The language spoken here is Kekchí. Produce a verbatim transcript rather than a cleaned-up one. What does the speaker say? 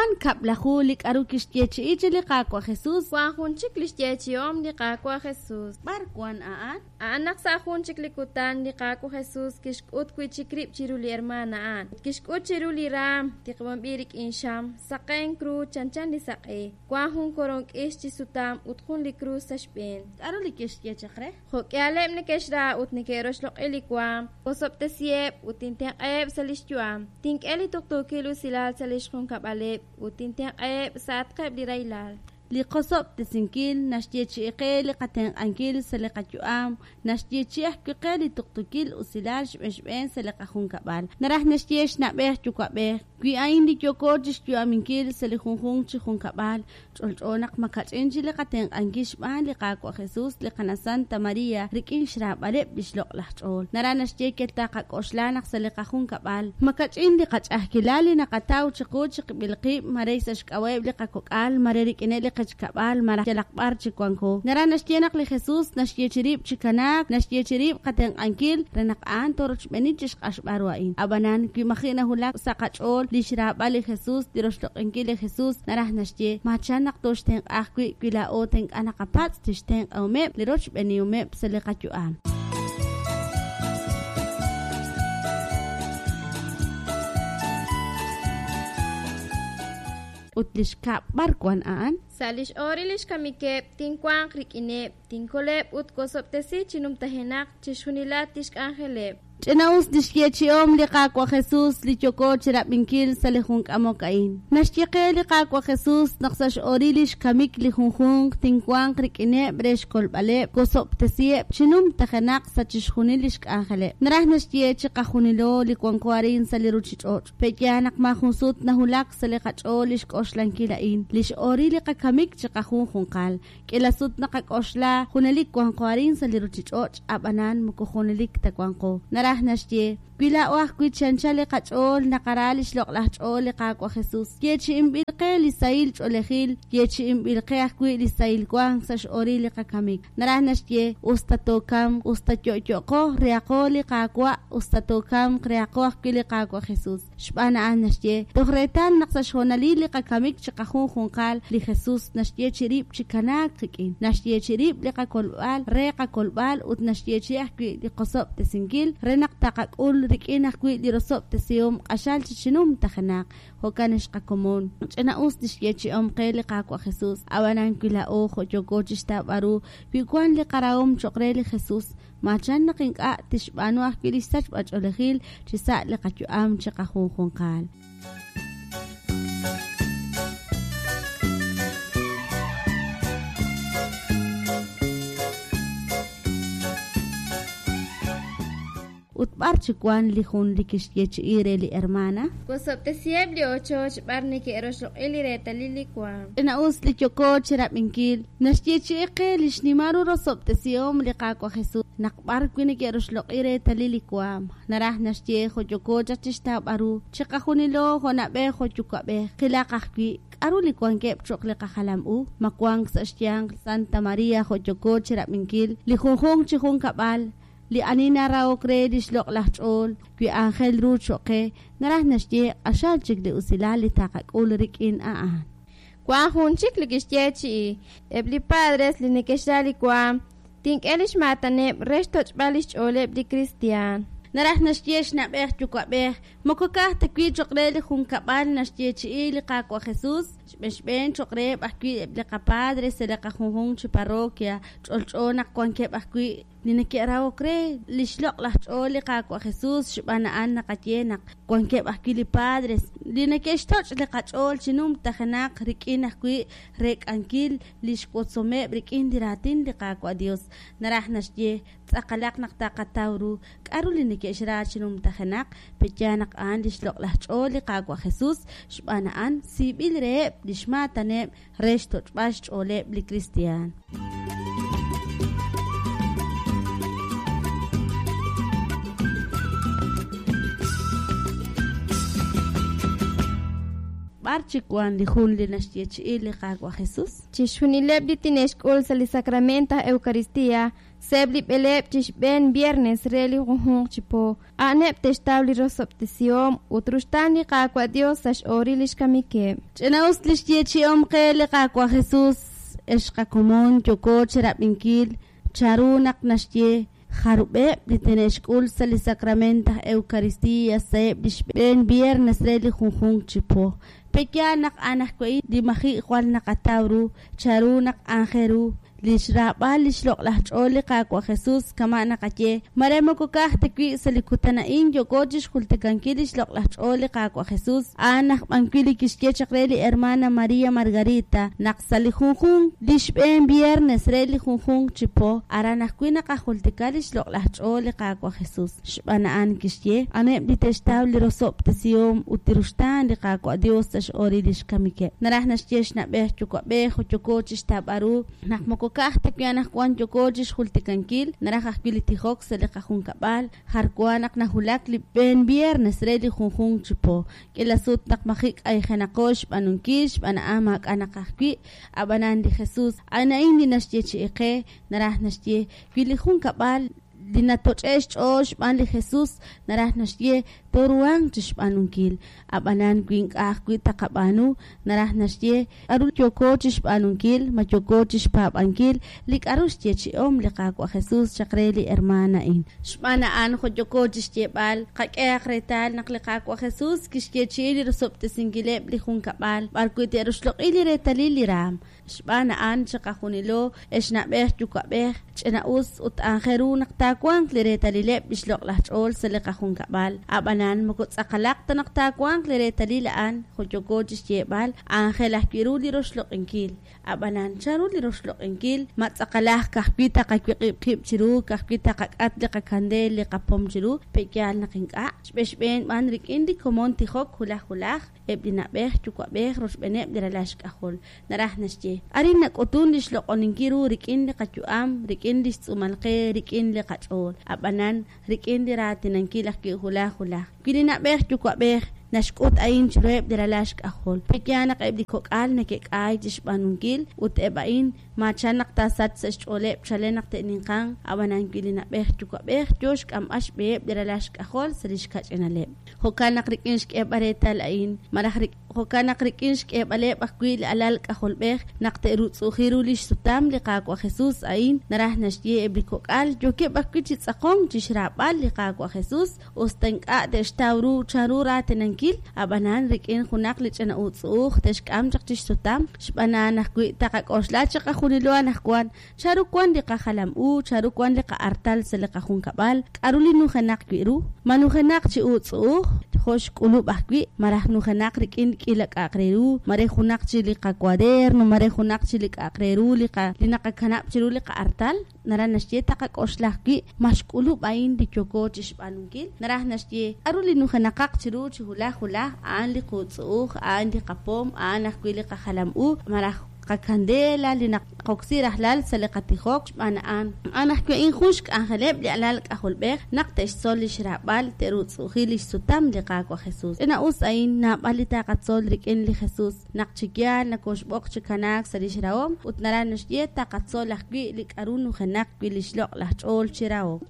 Wan kab'laju li k'a'ru kixyeechi'i chi li Qaawa' Jesus. Wan jun chik lix yeechi'ihom li Qaawa' Jesus. B'ar wan a'an? A'an naq sa' jun chik li kutan, li Qaawa' Jesus kixk'ut wi'chik rib' chiru li hermana a'an, ut kixk'ut chiru li raam tiqb'anb'il rik'in xam, saqenk ru chanchan li saq'e. Wan jun koroon k'ix chi sutam ut jun li krus sa' xb'een. K'a'ru li kixye chaq re? Jo' k'ihaleb' neke'xra ut neke'roxloq'i li waam, wosob'tesiheb' ut tintenq'aheb' sa' lix yu'am. Tink'e li tuqtuukil usilal sa' lix junkab'aleb' ut tintenq'aheb' sa'atqeb' li rahilal. Li qosob'tesinkil naxyeechi'i qe li qatenq'ankil sa' li qayu'am, naxyeechi'i ajwi' qe li tuqtuukil usilal xb'een xb'een sa' li qajunkab'al. Naraj naxye xna'b'ej yuwa'b'ej, wi a'in li yooko chixyu'aminkil sa' li junjunq chi junkab'al, ch'olch'o naq makach'in chi li qatenq'ankil xb'aan li Qaawa' Jesus, li Qana Santa Maria, rik'in xraab'aleb' lix loq'laj ch'ool. Naraj naxye yal taqak'oxla naq sa' li qajunkab'al, makach'in li qach'a'ajkilal li naqataw chiqu chiqib'il qib', mare sa' xk'ab'a'eb' li qakok'al, mare rik'ineb' li qechkab'al, malaj yalaq b'ar chi wanko. Naraj naxye naq li Jesus naxyeechi rib' chi kanaak, naxyeechi rib' qatenq'ankil re naq a'an torochb'eeni chixq'axb'al ru a'in. Ab'anan, wi maji' nawulak sa' qach'ool li xraab'al li Jesus, li roxloq'inkil li Jesus, naraj naxye, machan naq toxtenq'a ajwi' wi laa'o ink'a' naqapatz' tixtenq'ahomeb' li rochb'eenihomeb' sa' li qayu'am. Ut li xkab' b'ar wan a'an? Sa' lix ooril lix kamikeb', tinwanq rik'ineb', tinkoleb' ut wosob'tesi chi numtajenaq chixjunilat lix k'anjeleb'. Ch'ina'us lix yeechi'om li Qaawa' Jesus li yooko chirab'inkil sa' li jun k'amok a'in. Naxye qe li Qaawa' Jesus naq sa' x'ooril lix kamik li junjunq tinwanq rik'ineb' re xkolb'aleb', wosob'tesiheb' chi numtajenaq sa' chixjunil lix k'anjeleb'. Naraj naxye chiqajunilo li wanko arin sa' li ruchich'och'. Pe'yaal naq maajun sut nahulak sa' li qach'ool lix k'oxlankil a'in, lix ooril li qakamik chiqajunjunqal. K'ila sut naqak'oxla junelik wanko arin sa' li ruchich'och', ab'anan moko junelik ta wanko. Naraj naxye, wi laa'o ajwi' chanchal li qach'ool naqara lix loq'laj ch'ool li Qaawa' Jesus. Yeechi'inb'il qe li sahil ch'oolejil, yeechi'inb'il qe ajwi' li sahil wank sa' x'ooril li qakamik. Naraj naxye, us ta tookamq, us ta yo'yo'qo, rehaqo li Qaawa', us ta tookamq, rehaqo ajwi' li Qaawa' Jesus. Xb'aan a'an naxye, toj reetal naq sa' xhoonalil li qakamik chiqajunjunqal, li Jesus naxyeechi rib' chi kanaak qik'in. Naxyeechi rib' li qakolb'al re qakolb'al ut naxyeechi ajwi' li qosob'tesinkil re naq taqak'ul rik'in ajwi' li rosob'tesihom q'axal chi chinumtajenaq. Jo'kan xqakomon. Ch'ina'us lix yeechi'om qe li Qaawa' Jesus. Ab'anan wi laa'o jo' yooko chixtawb'al ru, wi wan li qarahom cho'q re li Jesus, machan naq ink'a' tixb'aanu ajwi' li xsachb'ach'oolejil chi sa' li qayu'am chiqajunjunqal. Ut b'ar chi wan li jun li kixyeechi'i re li hermana? Wosob'tesiheb' li ochoch b'ar neke'roxloq'i li reetalil li waam. Ch'ina'us li yooko chirab'inkil, naxyeechi'i qe li xnimal ru rosob'tesihom li Qaawa' Jesus naq b'ar wi neke'roxloq'i reetalil li waam. Naraj naxye jo' yooko chaq chixtawb'al ru, chiqajunilo jo' na'b'ej jo' yuwa'b'ej, qilaq ajwi' k'a'ru li wankeb' cho'q li qajalam u, ma wank sa' xyanq Santa Maria jo' yooko chirab'inkil li junjunq chi junkab'al, li ani narahok re lix loq'laj ch'ool, wi aajel ru cho'q qe, naraj naxye q'axal chik li usilal li taqak'ul rik'in a'an. Wan jun chik li kixyeechi'i, eb' li padres li neke'xra li waam, tink'e lix maataneb' re xtoch'b'al lix ch'ooleb' li kristiaan. Naraj naxye xna'b'ej yuwa'b'ej, moko ka'aj ta wi' cho'q re li junkab'al naxyeechi'i li Qaawa' Jesus, xb'een xb'een cho'q reheb' ajwi' eb' li qapadres sa' li qajunjunq chi parroquia, ch'olch'o naq wankeb' ajwi' li neke'rahok re lix loq'laj ch'ool li Qaawa' Jesus, xb'aan a'an naqaye naq wankeb' ajwi' li padres li neke'xtoch' li qach'ool chi numtajenaq rik'in ajwi' reek'ankil lix wotzomeb' rik'in li raatin li Qaawa' Dios. Naraj naxye, tz'aqalaq naq taqataw ru k'a'ru li neke'xra chi numtajenaq, pe'yaal naq a'an lix loq'laj ch'ool li Qaawa' Jesus, xb'aan a'an siib'il reheb' lix maataneb' re xtoch'b'al xch'ooleb' li kristiaan. B'ar chik wank li jun li naxyeechi'i li Qaawa' Jesus? Chixjunileb' li tine'xk'ul sa' li Sacrament aj Eucaristia sa'eb' li b'eleeb' chi xb'een viernes re li junjunq chi po, a'aneb' te'xtaw li rosob'tesihom ut ruxtaan li Qaawa' Dios sa' x'ooril lix kamikeb'. Ch'ina'us li xyeechi'om qe li Qaawa' Jesus, ex qakomon yooko chirab'inkil chanru naq naxye jarub'eb' li tine'xk'ul sa' li Sacrament aj Eucaristia sa'eb' li xb'een viernes re li junjunq chi po. Pe'yaal naq a'an ajwi' li maji' jwal naqataw ru chanru naq aajel ru li xraab'al li xloq'laj ch'ool li Qaawa' Jesus kama' naqaye mare moko ka'aj ta wi' sa' li kutan a'in yooko chixjultikankil li xloq'laj ch'ool li Qaawa' Jesus a'an aj b'an wi' li kixye chaq re li hermana Maria Margarita naq sa' li junjunq li xb'een viernes re li junjunq chi po aran ajwi' naqajultika li xloq'laj ch'ool li Qaawa' Jesus xb'aan a'an kixye aneb' li te'xtaw li rosob'tesihom ut li ruxtaan li Qaawa' Dios sa' x'ooril li xkamikeb' naraj naxye xna'b'ej yuwa'b'ej yooko chixtawb'al ru naq moko ka'aj ta wi' anaqwan yooko chixjultikankil naraj ajwi' li tijok sa' li qajunkab'al jar wa naq najulak li b'een viernes re li junjunq chi po k'ila sut naq maji' k'ayjenaqo xb'aanunkil xb'aan a'an maak'a' naq ajwi' ab'anan li Jesus a'an a'in li naxyeechi'i qe naraj naxye wi li junkab'al li natoch'e xch'ool xb'aan li Jesus naraj naxye tooruhanq chixb'aanunkil ab'anan wi ink'a' ajwi' taqab'aanu naraj naxye k'aru yooko chixb'aanunkil ma yooko chixpaab'ankil li k'aru xyeechi'om li Qaawa' Jesus chaq re li hermaan a'in xb'aan a'an jo' yooko chixyeeb'al qak'ehaq reetal naq li Qaawa' Jesus kixyeechi'i li rosob'tesinkileb' li junkab'al b'arwi' te'roxloq'i li reetalil li raam xb'aan a'an chiqajunilo ex na'b'ej yuwa'b'ej ch'ina'us ut aajel ru naq taawanq li reetalileb' li xloq'laj ch'ool sa' li qajunkab'al ab'anan moko tz'aqalaq ta naq taawanq li reetalil a'an jo' yooko chixyeeb'al aajel ajwi' ru li roxloq'inkil ab'anan chanru li roxloq'inkil ma tz'aqalaj ka'ajwi' taqawiq'ib' qib' chiru ka'ajwi' taqak'at li qakandeel li qapom chiru pe'yaal naq ink'a' xb'exb'een b'an rik'in li komon tijok hulaj hulaj eb' li na'b'ej yuwa'b'ej rochb'eeneb' li ralal xk'ajol naraj naxye arin nak'utun li xloq'oninkil ru rik'in li qayu'am rik'in li xtz'uumal qe rik'in li qach'ool ab'anan rik'in li raatinankil ajwi' hulaj hulaj wi li na'b'ej yuwa'b'ej naxk'ut a'in chiruheb' li ralal xk'ajol pe'yaal naq eb' li kok'al neke'k'aay chixb'aanunkil ut eb' a'in maachan naq taasach sa' xch'ooleb' chalen naq te'ninqanq ab'anan wi li na'b'ej yuwa'b'ej yoo xk'amb'al xb'eheb' li ralal xk'ajol sa' li xkach'inaleb' jo'kan naq rik'in xk'eeb'al reetal a'in malaj jo'kan naq rik'in xk'eeb'aleb' ajwi' li alal k'ajolb'ej naq te'rutz'u'uji ru li xsutam li Qaawa' Jesus a'in naraj naxye eb' li kok'al yookeb' ajwi' chi tz'aqonk chixraab'al li Qaawa' Jesus usta ink'a' te'xtaw ru chanru raatinankil ab'anan rik'in junaq li ch'ina utz'u'uj te'xk'am chaq chixsutam xb'aan a'an ajwi' taqak'oxla chiqajunilo anaqwan chanru wan li qajalam u chanru wan li qa'artal sa' li qajunkab'al k'aru li nujenaq wi' ru ma nujenaq chi utz'u'uj jo' xk'ulub' ajwi' malaj nujenaq rik'in k'ila k'a'aq re ru mare junaq chi li qacuaderno mare junaq chi li k'a'aq re ru li qa li naqakanab' chiru li qa'artal naraj naxye taqak'oxla ajwi' ma xk'ulub' a'in li yooko chixb'aanunkil naraj naxye k'aru li nujenaqaq chiru chi hulaj hulaj a'an li qutz'u'uj a'an li qapom a'an ajwi' li qajalam u malaj qakandela li naqoksi rajlal sa' li qatijok xb'aan a'an a'an ajwi' a'in jun xk'anjeleb' li alal k'ajolb'ej naq te'xtzol li xraab'al te'rutz'u'uji li xsutam li Qaawa' Jesus ch'ina'us a'in naab'al li taqatzol rik'in li Jesus naq chi yaal nakoxb'oq chi kanaak sa' li xrahom ut naraj naxye taqatzol ajwi' li k'aru nujenaq wi' li xloq'laj ch'ool chi rahok.